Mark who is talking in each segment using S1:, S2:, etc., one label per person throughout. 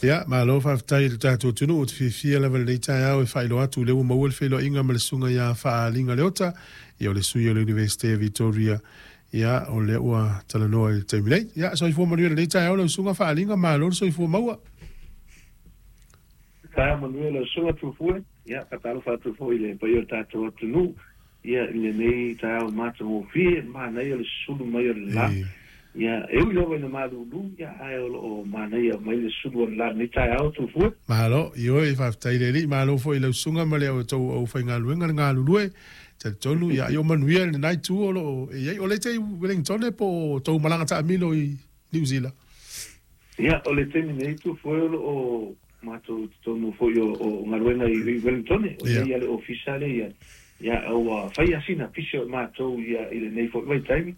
S1: Ia, malo faafetai i le tatou atunuu. Ou te fiafia lava i lenei taeao e faailoa atu o lea ua maua le feiloaiga ma le Susuga ia Faaaliga Leota, ia o le sui o le Iunivesite o Vitoria, ia o lea ua talanoa i le taimi nei. Ia, soifua manuia i lenei taeao lau Susuga Faaaliga, malo le soifua maua.
S2: Taeao manuia lau Susuga Tufue. Ia, faatalofa atu foi i le paia o le tatou atunuu, ia, i lenei taeao matagofie, manaia le sulu mai o le la. Ia, e ui lava ina malulu, ia, ae o lo o manaia mai le sulu o le la i lenei taeao, Tufue.
S1: Malo, ioe, faafetai i le Alii, malo foi i lau susuga ma le tou aufaigaluega le galulue. Talitonu, ia, ia manuia lena itu o lo o e i ai. O le te i Wellington po o tou malaga taamilo i Niu Sila?
S2: Ia, o le taimi nei, Tufue, o lo o matou i totonu foi o galuega i Wellington, o lea ia le ofisa lea ia, ua fai lava sina pisi o matou ia i lenei foi vaitaimi,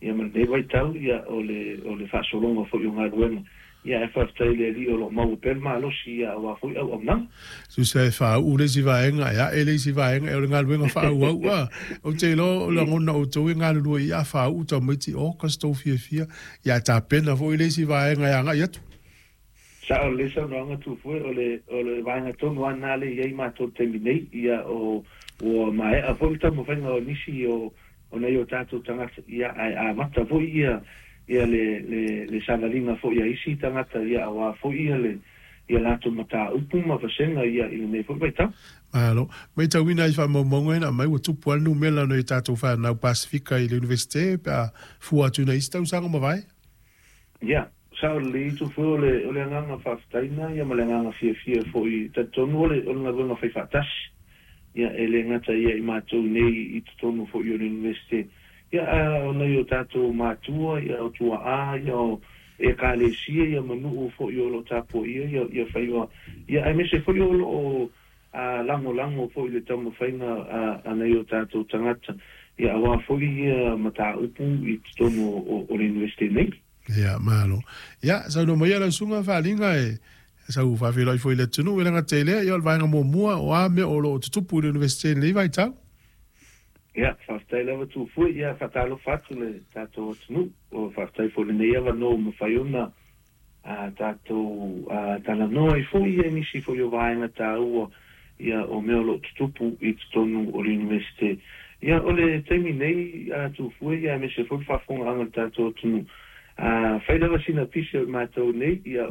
S2: ia ma lenei vaitau ia o le faasologa foi o galuega. Ia ae faafetai i le Alii o lo o maua pea le malosi ia aua foi auaunaga.
S1: Tusa e faauu le isi vaega, e ae le isi vaega, e o le galuega faaauau. A, ou te iloa o lagona outou e galulue i a faauu tamaiti August tou fiafia, ia tapena foi le isi vaega e agai atu.
S2: Sao lelei saunoaga Tufue, o le o le vaega tonu lava lena lea e i ai matou i le taimi nei, ia o ua maea foi le taumafaiga o nisi o o nai o tatou tagata, ia ae amata foi ia ia le le le savaliga foi a isi tagata ia aua foi ia le ia latou mataupu ma vasega ia i lenei foi vaitau.
S1: Malo. Matauina ai faamaumauga ina aumai ua tupu lava le numera o nai o tatou fanau Pasefika i le Iunivesite pe a fua atu i nai isi tausaga ua mavae.
S2: Ia, sao lelei Tufue, o le o le agaga faafetai lena ia ma le agaga fiafia foi, e talitonu o le o le galuega fai faatasi, ia e le gata ia i matou nei i totonu foi o le Iunivesite, ia a o nai o tatou matua, ia o tuaa, ia o Ekalesia, ia ma nuu foi o lo o tapuaia ia ia faiva, ia aemaise foi o lo o a lagolago foi i le taumafaiga a nai o tatou tagata, ia aua foi ia mataupu i totonu o le Iunivesite nei.
S1: Ia, malo. Ia, saunoa maia lau susuga Faaaliga e sau faafeiloai foi i le atunuu, e le gata i lea, ia o le vaega muamua o a mea o lo o tutupu i le Iunivesite i lenei vaitau.
S2: Ia, faafetai lava Tufue, ia faatalofa atu le tatou atunuu, faafetai foi i lenei avanoa ua mafai ona a tatou talanoa ai foi i nisi foi o vaega taua ia o mea o lo o tutupu i totonu o le Iunivesite. Ia o le taimi nei a Tufue ia aemaise foi le faafofogaaga a le tatou atunuu, fai lava sina pisi o i matou nei ia.